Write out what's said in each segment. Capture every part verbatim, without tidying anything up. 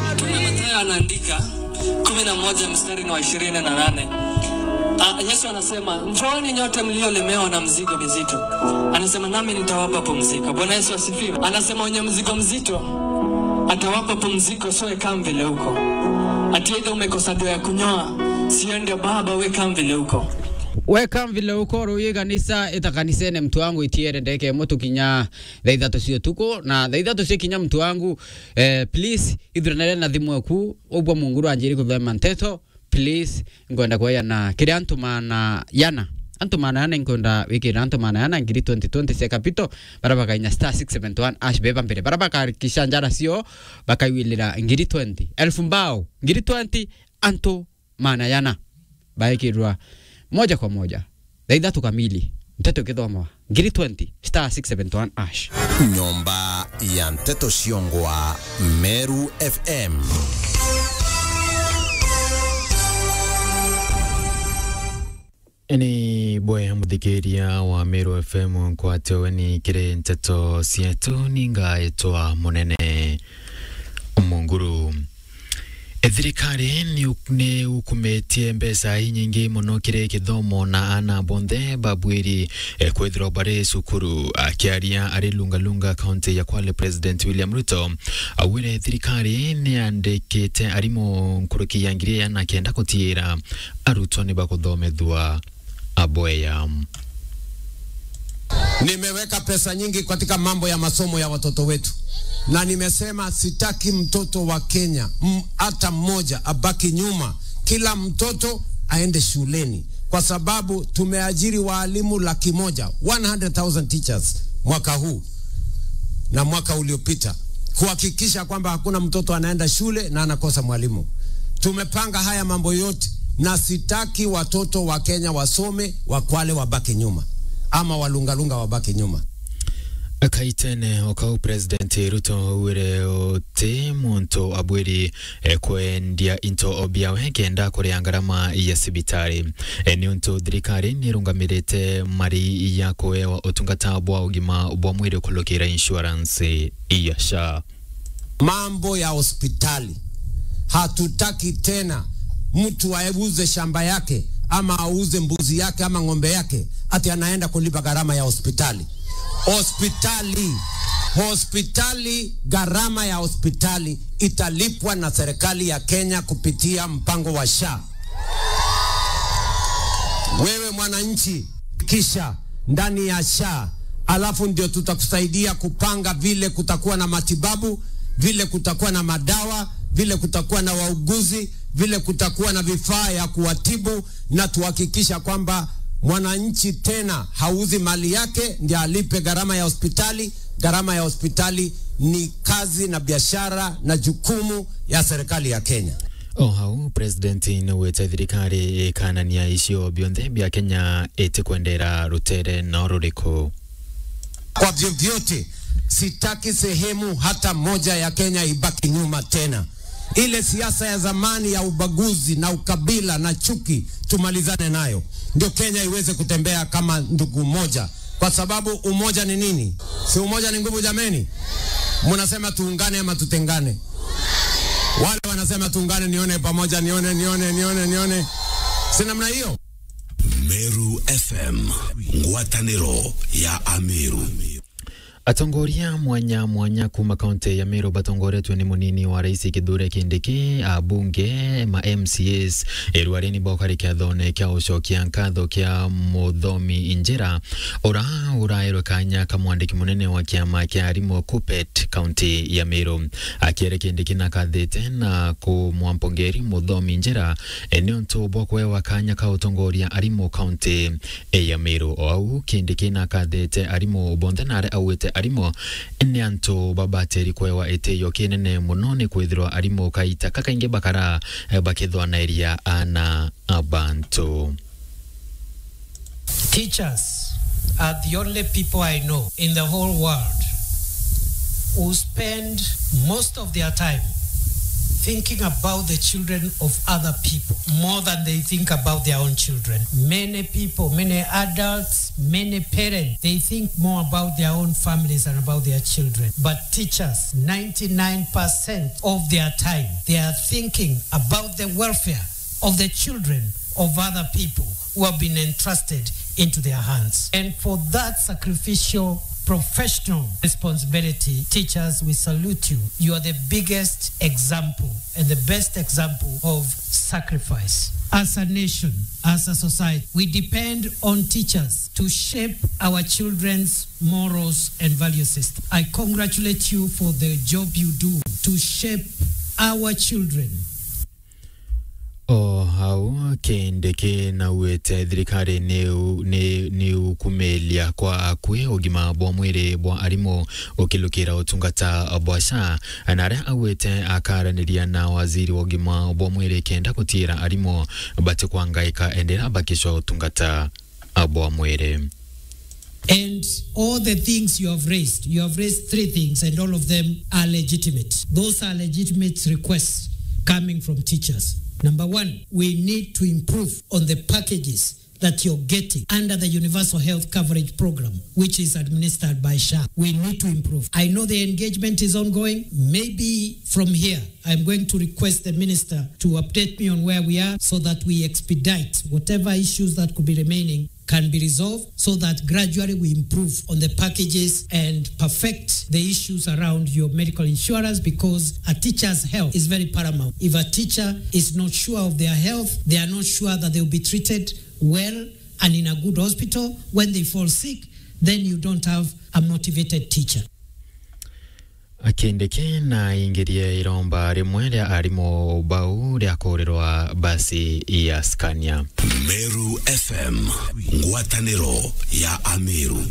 Mtume Mathayo anaandika kumi na moja mstari ni wa ishirini na nane. Ah, Yesu anasema, "Njooni nyote mliolemewa na mzigo mizito." Anasema, "Nami nitawapa pumziko." Bwana Yesu asifiwe. Anasema, "Wenye mzigo mzito atawapa pumziko, so weka mvile uko." Ati either umekosa ndo ya kunyoa, sio ndio baba, weka mvile uko. Weka mvile uko, ruyi kanisa, ita kanisene mtu wangu itiere ndeke mutu kinya thaa ithatu cia utuku, na thaa ithatu cia kinya mtu wangu, eh, please, ithuranire na thimu eku, ubwa Munguru anjiri kuthoma nteto, please, nkwenda kweyana kiri antu maana yana. Antu maana yana, nkwenda wikira antu maana yana ngiri twenty twenty cia capital, bara bakainya star six seven one hash beba mbere. Bara bakarikisha njara cio, bakaiwilira ngiri twenty. Elfu mbao, ngiri twenty, antu maana yana baikirwa moja kwa moja. Thaa ithatu kamili, nteto ikithomwa, ngiri twenty, star six seven one hash. Nyomba ya nteto ciongwa, Meru F M. Ni bwe muthikiria wa Meru F M, nkwate weni kiri nteto cietu, ningaitwa Munene Munguru. E, thirikari ni u-, ni ukumitie mbeca inyingi mono kiri kithomo na ana bonthe babwiri, e, kwithirwa bari cukuru. Akiaria ari Lungalunga, kaunti ya Kwale, President William Ruto augire thirikari ni yandikite arimu nkuruki ya ngiri igana na kenda gutiira arutwo ni bakuthomethua aboya. Nimeweka pesa nyingi katika mambo ya masomo ya watoto wetu, na nimesema sitaki mtoto wa Kenya, m-, hata mmoja abaki nyuma. Kila mtoto aende shuleni, kwa sababu tumeajiri waalimu laki moja, one hundred thousand teachers, mwaka huu na mwaka uliopita, kuhakikisha kwamba hakuna mtoto anaenda shule na anakosa mwalimu. Tumepanga haya mambo yote, na sitaki watoto wa Kenya wasome, wa Kwale wabaki nyuma, ama Walungalunga wabaki nyuma. Kaitene o kau, President Ruto augire uti muntu abwiri, e, kwendia into biawe kenda kuria ngarama ya cibitari. E, niuntu thirikari ni irungamirite mari ya kuewa utungata bwa ugima bwa mwiri kurukira insurance ya SHA. Mambo ya hospitali, hatutaki tena mtu auze shamba yake ama auze mbuzi yake ama ng'ombe yake ati anaenda kulipa gharama ya hospitali. Hospitali, hospitali, gharama ya hospitali italipwa na serikali ya Kenya kupitia mpango wa SHA. Wewe mwananchi, kisha ndani ya SHA, alafu ndio tutakusaidia kupanga vile kutakuwa na matibabu, vile kutakuwa na madawa, vile kutakuwa na wauguzi, vile kutakuwa na vifaa ya kuwatibu, na tuhakikisha kwamba mwananchi tena hauzi mali yake ndio alipe gharama ya hospitali. Gharama ya hospitali ni kazi na biashara na jukumu ya serikali ya Kenya. O hau, President niaugite thirikari ikanania icio bionthe bia Kenya itikwendera rutere no ruriku. Kwa vyovyote, sitaki sehemu hata moja ya Kenya ibaki nyuma tena. Ile siasa ya zamani ya ubaguzi na ukabila na chuki, tumalizane nayo, ndio Kenya iweze kutembea kama ndugu moja, kwa sababu umoja ni nini? Si umoja ni nguvu, jameni? Mnasema tuungane ama tutengane? Wale wanasema tuungane, nione pamoja, nione, nione, nione, nione. Si namna hiyo? Meru F M, ngwataniro ya Ameru. Atongoria mwanya mwanya kuma kaunti ya Meru batongoretwe ni munini wa rais Kithure Kindiki, abunge, ma M C As, irwareni bokari kiathone kia ucokia nkatho kia Muthomi Njira, ura uraerwe kanya ka mwandiki munene wa kiama kia arimu KUPPET kaunti ya Meru. Akiere Kindiki nakathite na kumwampongeri Muthomi Njira, e, niuntu bwa kuewa kanya ka utongoria arimu kaunti e ya Meru. O au, Kindiki nakathite arimu bonthe na aria augite arimu ni antu babatiri kwewa itio kinene muno, ni kwithirwa arimu kaita kakaingi bakara, eh, bakithwanairia ana a bantu. Teachers are the only people I know in the whole world who spend most of their time thinking about the children of other people more than they think about their own children. Many people, many adults, many parents, they think more about their own families and about their children. But teachers, ninety-nine percent of their time, they are thinking about the welfare of the children of other people who have been entrusted into their hands. And for that sacrificial professional responsibility, teachers, we salute you. You are the biggest example and the best example of sacrifice. As a nation, as a society, we depend on teachers to shape our children's morals and value system. I congratulate you for the job you do to shape our children. O hau, Kindiki naugite thirikari ni u-, ni, ni ukumilia kwa akui ugima bwa mwiri bwa arimu ukilukira utungata bwa SHA, na aria augite akaraniria na waziri wa ugima bwa mwiri kenda gutiira arimu batikwangaika endera bakicwa utungata bwa mwiri. And all the things you have raised, you have raised three things, and all of them are legitimate. Those are legitimate requests coming from teachers. Number one, we need to improve on the packages that you're getting under the Universal Health Coverage Program, which is administered by SHA. We need to improve. I know the engagement is ongoing. Maybe from here, I'm going to request the minister to update me on where we are so that we expedite whatever issues that could be remaining can be resolved so that gradually we improve on the packages and perfect the issues around your medical insurance, because a teacher's health is very paramount. If a teacher is not sure of their health, they are not sure that they will be treated well and in a good hospital, when they fall sick, then you don't have a motivated teacher. Kindiki naingirie iromba rimwe ria arimu bau ria kuurirwa basi ya Scania. Meru F M, ngwataniro ya Ameru.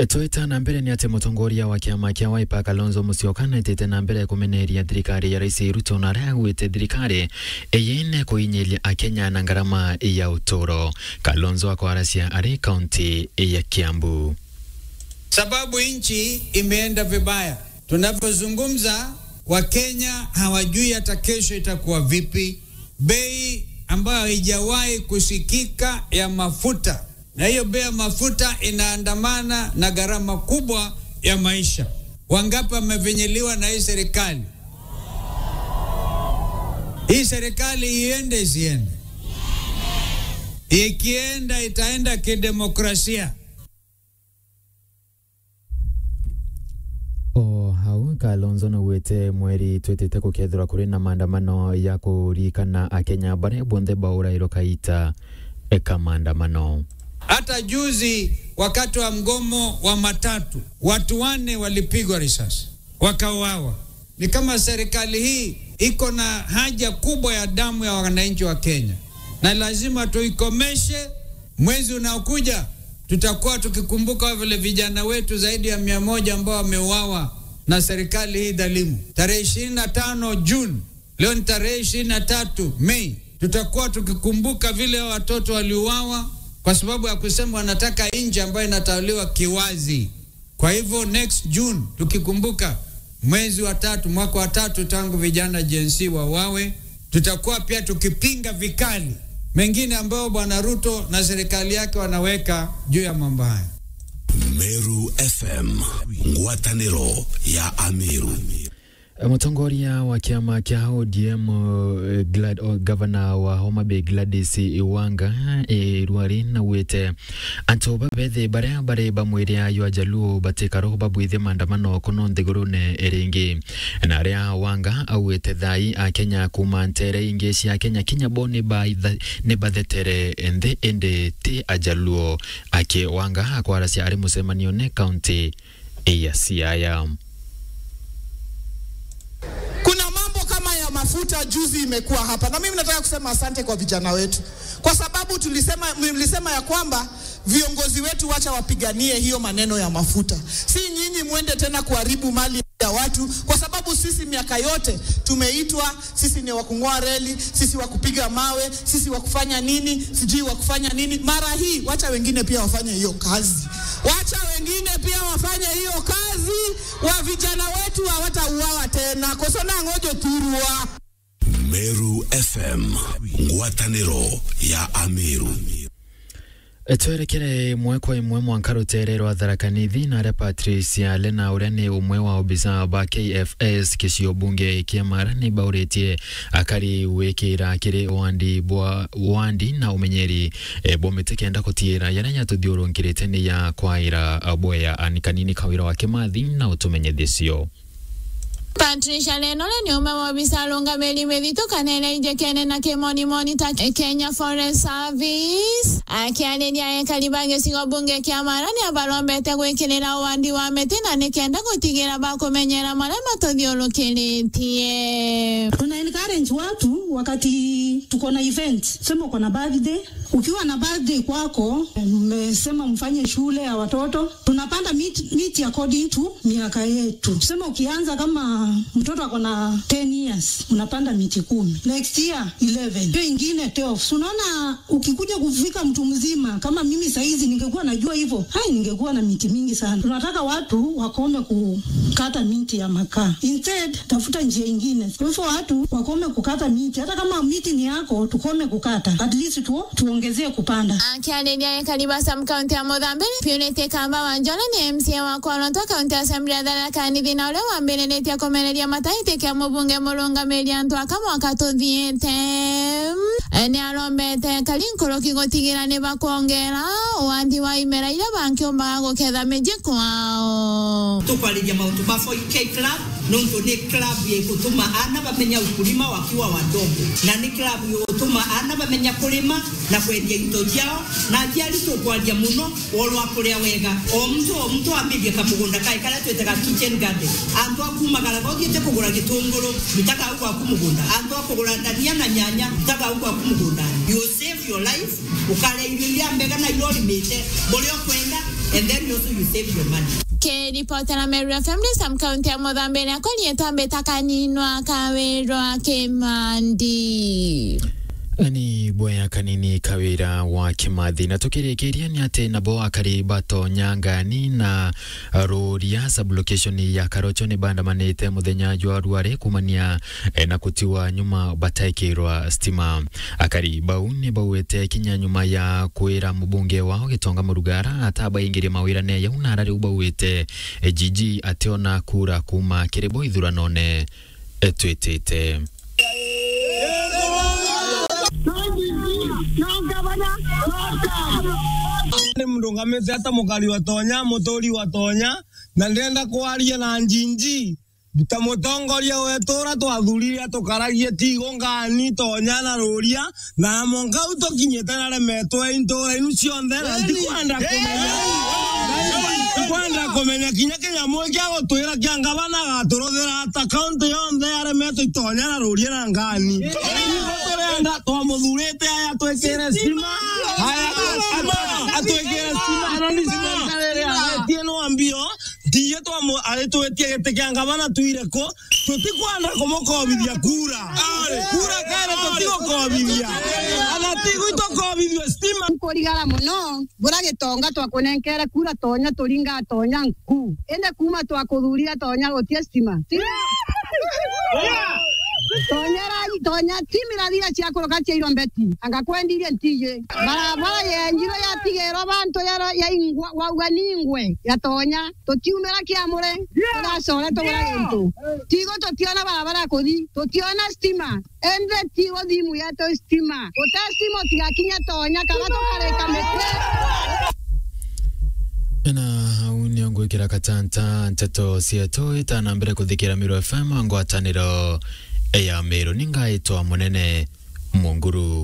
Twita na mbere ni ati mutongoria wa kiama kia Wiper Kalonzo Musyoka naitite na mbere kumeneria thirikari ya Rais Ruto na aria augite thirikari iyine kuinyiria Akenya na ngarama ya uturo. Kalonzo akwaracia ari kaunti ya Kiambu. Sababu nchi imeenda vibaya. Tunavyozungumza, Wakenya hawajui hata kesho itakuwa vipi. Bei ambayo haijawahi kusikika ya mafuta, na hiyo bei ya mafuta inaandamana na gharama kubwa ya maisha. Wangapi wamefinyiliwa na hii serikali? Hii serikali iende isiende? Ikienda, itaenda kidemokrasia. O hau, Kalonzo naugite mweri twitite gukethirwa kuri na maandamano ya kuririkana Akenya baria bonthe baurairwe kaita ka maandamano. Hata juzi wakati wa mgomo wa matatu, watu wanne walipigwa risasi, wakauawa. Ni kama serikali hii iko na haja kubwa ya damu ya wananchi wa Kenya, na lazima tuikomeshe. Mwezi unaokuja tutakuwa tukikumbuka vile vijana wetu zaidi ya mia moja ambao wameuawa na serikali hii dhalimu. Tarehe ishirini na tano June, leo ni tarehe ishirini na tatu Mei, tutakuwa tukikumbuka vile hao watoto waliuawa kwa sababu ya kusema wanataka nchi ambayo inatawaliwa kiwazi. Kwa hivyo, next June, tukikumbuka mwezi wa tatu, mwaka wa tatu tangu vijana Gen Z wauawe, tutakuwa pia tukipinga vikali mengine ambayo Bwana Ruto na serikali yake wanaweka juu ya mambo haya. Meru F M, ngwataniro ya Ameru. Mutongoria wa kiama kia O D M, eh, Glad-, o, gavana wa Homa Bay Gladys Wanga, eh, Rwari naugite antu babethi baria bari ba mwiri ayo Ajaluo batikaro babwithie maandamano kuno nthigurune iringi. Na aria Wanga augite thai Akenya kuuma ntere ingi cia Kenya kinya bo ni baitha-, ni bathetere nthi indi ti Ajaluo. Aki Wanga akwaracia ari mucemanione kaunti ya Siaya. Kuna mambo kama ya mafuta juzi imekuwa hapa, na mimi nataka kusema asante kwa vijana wetu, kwa sababu tulisema, mlisema ya kwamba viongozi wetu wacha wapiganie hiyo maneno ya mafuta. Si nyinyi mwende tena kuharibu mali ya watu, kwa sababu sisi miaka yote tumeitwa sisi ni wa kung'oa reli, sisi wa kupiga mawe, sisi wa kufanya nini, sijui wa kufanya nini. Mara hii, wacha wengine pia wafanye hiyo kazi. Wacha wengine pia wafanye hiyo kazi. Wa vijana wetu hawatauawa tena. Koso na ngojo turua. Meru F M, ngwataniro ya Ameru. Twerekere imwe kwa imwe mwanka rutere rwa Tharaka Nithi, na aria Patricia Lena, uria ni umwe wa obisa ba K F S kicio bunge kia Mara, ni bauritie akari wikira kiri wandi bwa, wandi na umenyeri, e, bwa miti kenda kutiira yaria yatuthiurunkirite ni ya kwaira bwea. Ani kanini kawira wa Kimathi na utumenyethisio. Patricia Lena ni umwe wa obisa arungamiri mithithu kana iria ijikene na kimonimoni ta Kenya Forest Service. Akiariria ekari ba gicigo bunge kia Mara, ni abarombete gwikirira uwandi wa miti na ni kenda gutigira bakumenyera maria matuthiurukiritie. Tuna encourage watu wakati tuko na event, sema uko na birthday, ukiwa na birthday kwako, mmesema mfanye shule ya watoto, tunapanda miti, miti according to miaka yetu. Tuseme ukianza kama mtoto ako na ten years, unapanda miti kumi. Next year, eleven. Hiyo ingine, twelve. So, unaona, ukikuja kufika mtu mzima, kama mimi saizi ningekuwa najua hivyo, hai, ningekuwa na miti mingi sana. Tunataka watu wakome kukata miti ya makaa. Instead, tafuta njia ingine. Kwa hivyo watu wakome kukata miti. Hata kama miti ni yako, tukome kukata. At least tu, tuongezee kupanda. Akiariria ekari ba sub county ya Muthambi, Purity Kamba Wanjore ni M C A wa Kwarotwa County Assembly ya Tharaka Nithi, na uria wambiriritie kumereria mataiti kia mubunge murungamiri antu aka mwaka tuthiite. Ni arombete ekari nkuruki gutigira ni bakwongera uwandi wa imera iria bankiumbaga guketha miji kwao. Tukwariria mauntu ma four K Club, nontu ni club igutuma ana bamenya ukulima wakiwa wadogo, na ni club igutuma ana bamenya kurima na kwendia into ciao, na aciari tukwaria muno, worwa kuria wega. O muntu, o muntu ambirie kamugunda kae karia twitaga kitchen garden. Antu a kumagara, uthiite kugura gitunguru, rutaga au gwaku mugunda. Antu a kugura ndania na nyanya, rutaga au gwaku mugunda. You save your life, ukaria irio iria mbega na iria urimite, buria ukwenda, and then you also you save your money. Kiripotera Meru F M ni sub county ya Muthambi, na kuri etwa mbita Kaninwa Kawirwa Kimandi. Ani bwea kanini Kawira wa Kimathi. Na tukirikiria ni ati nabo akari batonya Ngani na Ruria sub-location ya Karocho ni bandamanite muthenya jwa rware kumania, eh, na kutiwa nyuma bataikirwa stima. Akari bau ni bauite kinya nyuma ya kwira mubunge wao Gitonga Murugara atabaingirie mawirane jau, na ara riu bauite, eh, Gigi ationa kura kuma kiri bo ithuranone, eh, twitite. Ni mrungamite ata mukari wa Tonya, muturi wa Tonya, na ndenda kwaria na Njinji. Ta mutongoria wetu uria twathurire atukaragie Tigo, Ngani, Tonya na Ruria, na mwanka u tukinyite naremetwe intura inu cionthe, na ntikwenda kumenya, ntikwenda kumenya kinya kinyamu kia gutwira kia ngavana agaturuthira ata. Kaunti yonthe yaremetwe i Tonya na Ruria na Ngani. Turenda, twamuthurite aya twikire stima, aya atwikire stima, na ni stima iria aretie no ambio. Tiye twamu-, aritwitie giti kia ngavana twire ku, tutikwenda kumukobithia kura. Kura kere tutigukobithia. Ana ti gwitukobithua stima. Nkurigara muno, bura Gitonga twakunenkere kura Tonya, turinga Tonya nku. Indi kuma twakuthurire Tonya gutie stima. Stima. Tonya ra-, Tonya stima irathira cia kuruka cia irombeti. Anga kwendirie ntiye. Barabara yenjirwe yatigerwa bantu ya, ya ingwa, wauga ni ingwe ya Tonya. Tutiumira kiamure, turacore tugura gintu. Tigo tutiona barabara ya kuthi, tutiona stima. Ende tigo thimu yetu stima. Gute stima utigakinya Tonya kana tukarika miti. Na au nio ngwikira katanta nteto cietu itana mbere kuthikira Meru F M ngwataniro ya Meru. Ningaitwa Munene Munguru.